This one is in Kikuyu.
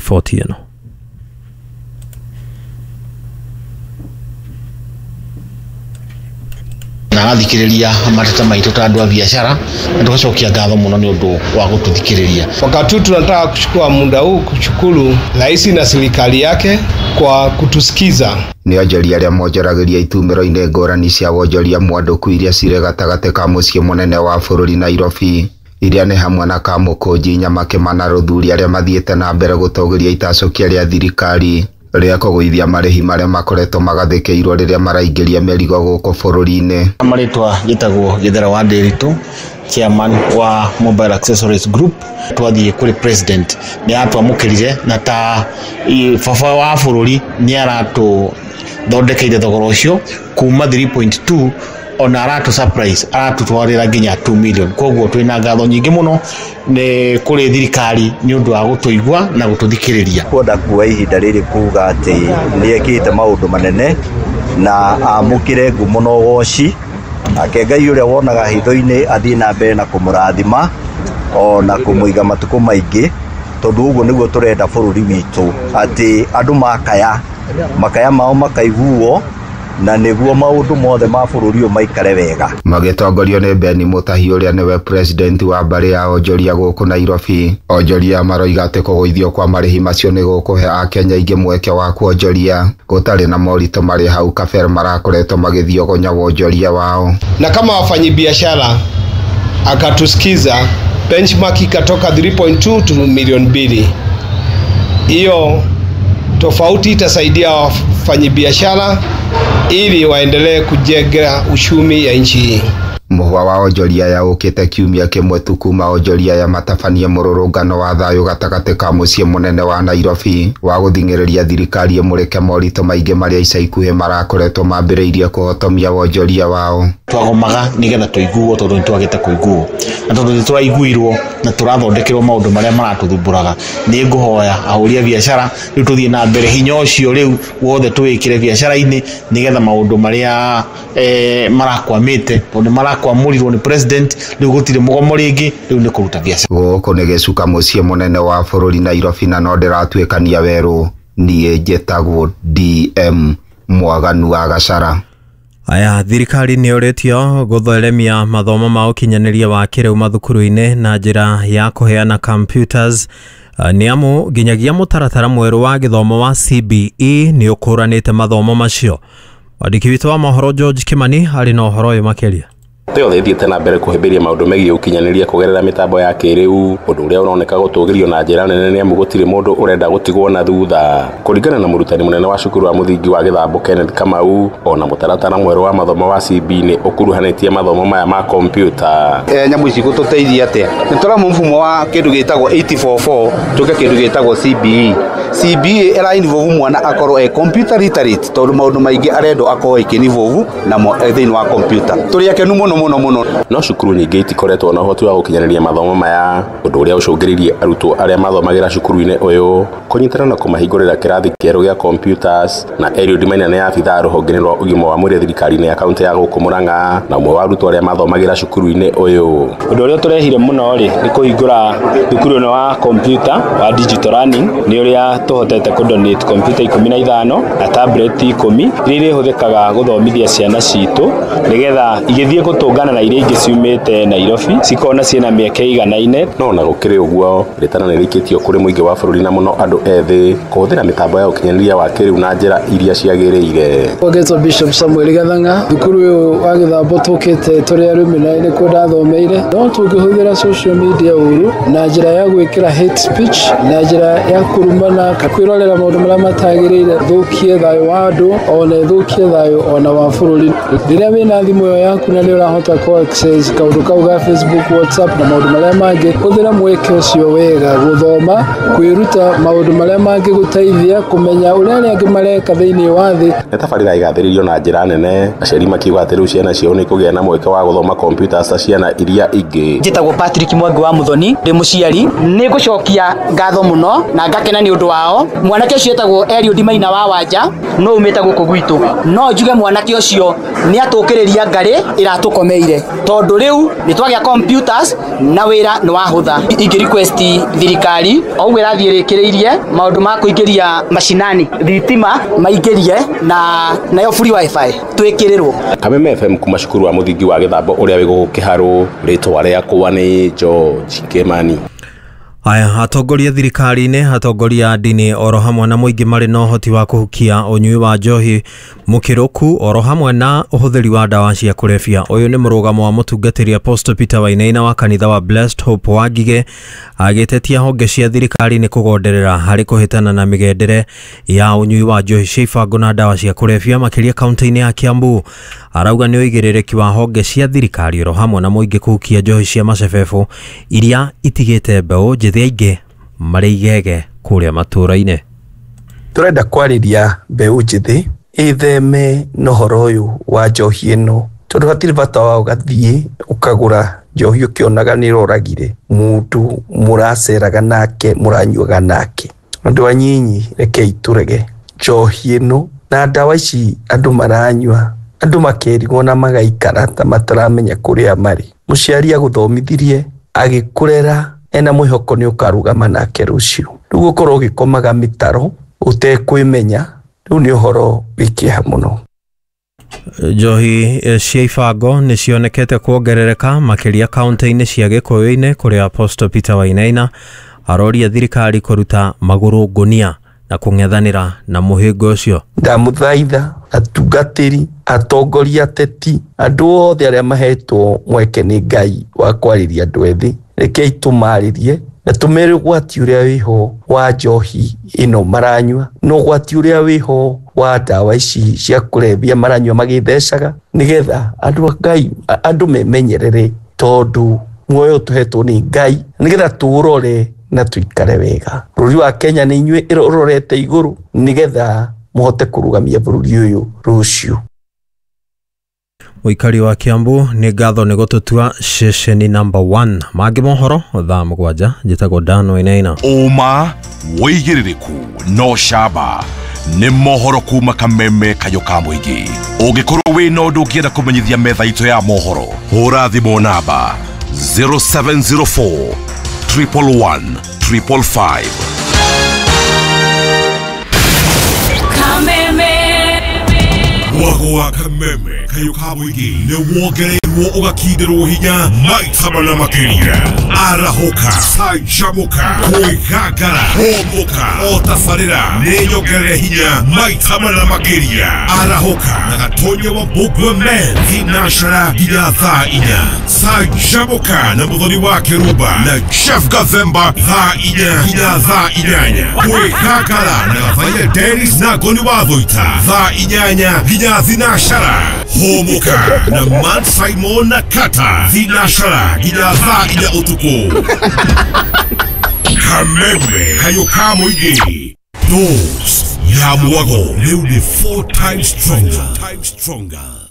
Riboti ĩno. Na arathikĩrĩria mateta maitũ ta andũ a biacara, na tũgacokia ngatho mũno nĩ ũndũ wa gũtũthikĩrĩria. Wakati huu tunataka kuchukua muda huu kushukuru rais na serikali yake kwa kutusikiza. Nĩ onjoria arĩa monjoragĩria itumĩro-inĩ ngũrani cia wonjoria mwandũku iria cirĩ gatagatĩ ka mũciĩ mũnene wa bũrũri Nairobi, iria nĩ hamwe na Kamũkũnji, Nyamakĩma na Rũthuri, arĩa mathiĩte na mbere gũtũgĩria itacũkia rĩa thirikari rĩa kũgũithia marĩhi marĩa makoretwo magathĩkĩirwo rĩrĩa maraingĩria mĩrigo gũkũ bũrũri-inĩ. Marĩtwa njĩtagwo Gĩthera wa Ndĩritũ, chairman wa Mobile Accessories Group. Twathiĩ kũrĩ president nĩ atwamũkĩrire, na ta baba wa bũrũri nĩ aratũthondekeire thogora ũcio kuma 3.2, ona aratũ surprise aratũtwarĩra nginya 2 million. Koguo twĩna ngatho nyingĩ mũno nĩ kũrĩ thirikari nĩ ũndũ wa gũtũigua na gũtũthikĩrĩria. Kwenda kuoya ihinda rĩrĩ kuga atĩ nĩ ekĩte maũndũ manene na amũkĩre ngumo na ũgoci, nake Ngai ũrĩa wonaga hitho-inĩ athiĩ na mbere na kũmũrathima ona kũmũiga matukũ maingĩ, tondũ ũguo nĩguo tũrenda bũrũri witũ, atĩ andũ makaya makaya mao makaiguo, na nĩguo maũndũ mothe ma bũrũri ũyũ maikare wega. Magĩtongorio nĩ Beni Mũtahi ũrĩa nĩwe president wa mbarĩ ya onjoria gũkũ Nairobi, onjoria maroiga atĩ kũgũithio kwa marĩhi macio nĩ gũkũhe akenya aingĩ mweke wa kuonjoria gũtarĩ na moritũ marĩa hau kabere marakoretwo magĩthiogonya wonjoria wao. Na kama wafanyibiashara akatusikiza, benchmark ikatoka 3.2 to milioni 2. Hiyo tofauti itasaidia wafanyibiashara ili waendelee kujenga uchumi ya nchi hii. Mũhwa wa onjoria ya ũkĩte kiumia kĩmwe tu kuma onjoria ya matabanie mũrũrũngano wa thayũ gatagatĩ ka mũciĩ mũnene wa Nairobi wa gũthing'ĩrĩria thirikari ĩmũrĩke moritũ maingĩ marĩa ica ikuhĩ marakoretwo mambĩrĩirie kũhotomia wonjoria wao. Twagomaga nĩgetha tũiguo, tondũ nĩ twagĩte kũiguo, na tondũ nĩ tũraiguirwo na tũrathondekerwo maũndũ marĩa maratũthumbũraga, nĩ ngũhoya ahũri a biacara rĩu tũthiĩ na mbere, hinya ũcio rĩu wothe tũwĩkĩre biacara-inĩ nĩgetha maũndũ marĩa marakwamĩte, tondũ marakwamũrirwo nĩ president, rĩu gũtirĩ mũgomo rĩngĩ, rĩu nĩ kũruta biacara. Gũkũ nĩ gĩcuka mũciĩ mũnene wa bũrũri Nairobi, na no ndĩratuĩkania werũ. Niĩ njĩtagwo DM Mwaganu wa Gacara. Aya, thirikari nĩ ũrĩtio gũtheremia mathomo ma ũkinyanĩria wa kĩrĩu mathukuru-inĩ na njĩra ya kũheana computers, nĩ amu nginyagia mũtaratara mwerũ wa gĩthomo wa CBE nĩ ũkũranĩte mathomo macio. Mwandĩki witũ wa mohoro George Kimani arĩ na ũhoro ũyũ makĩria. Thĩ yothe ĩthiĩte na mbere kũhĩmbĩria maũndũ megiĩ ũkinyanĩria kũgerera mĩtambo ya kĩrĩu, ũndũ ũrĩa ũroneka gũtũgĩrio na njĩra nene nĩ amu gũtirĩ mũndũ ũrenda gũtigwo na thutha. Kũringana na mũrutani mũnene wa cukuru wa mũthingi wa Gĩthambo Kenneth Kamau, ona mũtaratara mwerũ wa mathomo wa CB nĩ ũkuruhanĩtie mathomo maya ma kompiuta. Nyamũ ici gũtũteithia atĩa? Nĩ tũramu mfumo wa kĩndũ gĩtagwo 844 tũke kĩndũ gĩtagwo CBE. CBE ĩra involve mwana akorwo e computer literate, tondũ maũndũ maingĩ arendwo akorwo ĩkĩ involve namo thĩinĩ wa computer. Tũrĩ akenu mũno mũno mũno. No cukuru nyingĩ itikoretwo na ũhoti wa gũkinyanĩria mathomo maya, ũndũ ũrĩa ũcũngĩrĩirie arutwo arĩa mathomagĩra cukuru-inĩ ũyũ kũnyitana na kũmahingũrĩra kĩrathi kĩerũ gĩa computers. Na Eliud Maina nĩ abithaa rũhonge-inĩ rwa ũgima wa mwĩrĩ thirikari-inĩ ya kaunti ya gũkũ Murang'a, na ũmwe wa arutwo arĩa mathomagĩra cukuru-inĩ ũyũ. Ũndũ ũrĩa tũrehire mũno rĩ nĩ kũhingũra thukuru ĩno wa computer wa digital learning, nĩ ũrĩa tũhotete kũ donate computer 15 na tablet 10 iria irĩhũthĩkaga gũthomithia ciana citũ nĩgetha igĩthiĩ gũtũngana na iria ingĩ ciumĩte Nairobi cikona ciĩna mĩeke ĩiganaine. No ona gũkĩrĩ ũguo, rĩtana nĩ rĩikĩtio kũrĩ mũingĩ wa bũrũri na mũno andũ ethĩ kũhũthĩra mĩtambo ya ũkinyanĩria wa kĩrĩu na njĩra iria ciagĩrĩire. Ũgetwo Bishop Samuel Gathanga, thukuru ũyũ wa Gĩthambo tũkĩte tũrĩ arũme na nĩkuo ndathomeire. No tũngĩhũthĩra social media ũru na njĩra ya gwĩkĩra hate speech, na njĩra ya kũrumana, kwĩrorera maũndũ marĩa matagĩrĩire, thũkie thayũ wa andũ ona ĩthũkie thayũ ona wa bũrũri. Rĩrĩa wĩna thimũ ĩyo yaku na nĩ ũrahota kũ access kaũndũ kau ga Facebook, WhatsApp na maũndũ marĩa mangĩ, hũthĩra mweke ũcio wega gũthoma, kwĩruta maũndũ marĩa mangĩgũteithia kũmenya ũrĩa arĩa angĩ mareka thĩinĩ wa thĩ. Nĩ tabarĩra ĩgathĩrĩirio na njĩra nene, aciari makiuga atĩ rĩu ciana ciao nĩ ikũgĩa na mweke wa gũthoma kompiuta ta ciana iria ingĩ. Njĩtagwo Patrick Mwangi wa Muthoni, ndĩ mũciari. Nĩ ngũcokia ngatho mũno na ngakena nĩ ũndũ wa wao. Mwanake ũcio etagwo Eliud Maina wa Wanja, no umĩte gũkũ gwitũ. No njuge mwanake ũcio nĩ atũkĩrĩria ngarĩ ĩratũkomeire, tondũ rĩu nĩ twagĩa computers na wĩra nĩ wahũtha. Ingĩ request thirikari o ũguo ĩrathiĩ ĩrĩkĩrĩirie maũndũ ma kũingĩria macinani thitima maingĩrie na nayo free wifi twĩkĩrĩrwo. Kameme FM kuma cukuru wa mũthingi wa Gĩthambo ũrĩa wĩ gũkũ Kĩharũ, rĩtwa rĩakwa nĩ George Kimani. Aya, atongoria thirikari-inĩ, atongoria a ndini oro hamwe na mũingĩ marĩ na ũhoti wa kũhukia ũnyui wa njohi mũkĩrũku oro hamwe na ũhũthĩri wa ndawa cia kũrebia. Ũyũ nĩ mũrũgamo wa mũtungatĩri Apostle Peter Wainaina wa kanitha wa Blessed Hope wa Ngigĩ, agĩtetia honge cia thirikari nĩ kũgonderera harĩ kũhĩtana na mĩgendere ya ũnyui wa njohi cia ibango na ndawa cia kũrebia makĩria kaunti-inĩ ya Kiambu. Arauga nĩ ũigĩrĩrĩki wa honge cia thirikari oro hamwe na mũingĩ kũhukia njohi cia macebebo iria itigĩte mbeũ njĩthĩ aingĩ marĩ igege kũrĩa matũũra-inĩ. Tũrenda kwarĩria mbeũ njĩthĩ ĩtheme na ũhoro ũyũ wa njohi ĩno, tondũ hatirĩ bata wa ũgathiĩ ũkagũra njohi ũkĩonaga nĩ ĩroragire mũndũ mũraceraga nake mũranyuaga nake. Andũ anyinyi, rekei tũrege njohi ĩno na ndawa ici andũ maranyua, andũ makerigwo na magaikara ta mataramenya kũrĩa marĩ. Mũciari agũthomithirie agĩkũrera ena mwĩhoko nĩ ũkarũgama nake rũciũ, rĩu ũkorwo ũgĩkomaga mĩtaro ũtekwĩmenya, rĩu nĩ ũhoro wĩ kĩeha mũno. Njohi cia ibango nĩ cionekete kuongerereka makĩria kaunti-inĩ cia Gĩkũyũ-inĩ kũrĩa Apostle Peter Wainaina aroria thirikari kũruta magũrũ ngũnia na kũng'ethanĩra na mũhĩnga ũcio. Ndamũthaitha atungatĩri, atongoria, ateti, andũ othe arĩa mahetwo mweke nĩ Ngai wa kwarĩria andũ ethĩ, rekei tũmarĩrie na tũmere ũgwati ũrĩa wĩho wa njohi ĩno maranyua na ũgwati ũrĩa wĩho wa ndawa ici cia kũrebia maranyua magĩthecaga, nĩgetha andũ a Ngai, andũ memenyerere, tondũ muoyo tũhetwo nĩ Ngai, nĩgetha tũũrore na tũikare wega. Bũrũri wa Kenya nĩ inyuĩ ũrorete igũrũ, nĩgetha mũhote kũrũgamia bũrũri ũyũ rũciũ. Mũikari wa Kiambu nĩ ngatho nĩ gũtũtua ceceni number 1. Mangĩ mohoro thaa 7. Njĩtagwo Dan Wainaina. Ũma wĩigĩrĩrĩku no camba nĩ mohoro kuma Kameme kayũ ka mũingĩ. Ũngĩkorwo wĩna ũndũ ũngĩenda kũmenyithia metha itũ ya mohoro, hũra thimũ namba 0704 111 555. Kameme. Mwago wa Kameme kayũ ka mũingĩ nĩ wongereirwo ũgakinderwo hinya maita mana makĩria. Arahũka, canjamũka, kwĩgangara, hũmũka, o tabarĩra nĩ nyongerere hinya maita mana makĩria. Arahũka na Gatonya wa Mbũgua Men thinashara nginya thaa 4. Canjamũka na Mũthoni wa Kĩrumba na Jeff Gathemba thaa 4 nginya thaa 8. Kwĩgangara na Gathaiya Dennis na Ngoni wa Thũita thaa 8 nginya thinashara. Hũmũka na Matt Simon na Kata thinashara nginya thaa 4 ũtukũ. Kameme kayũ ka mũingĩ, dose ya mwago rĩu nĩ 4 times stronger.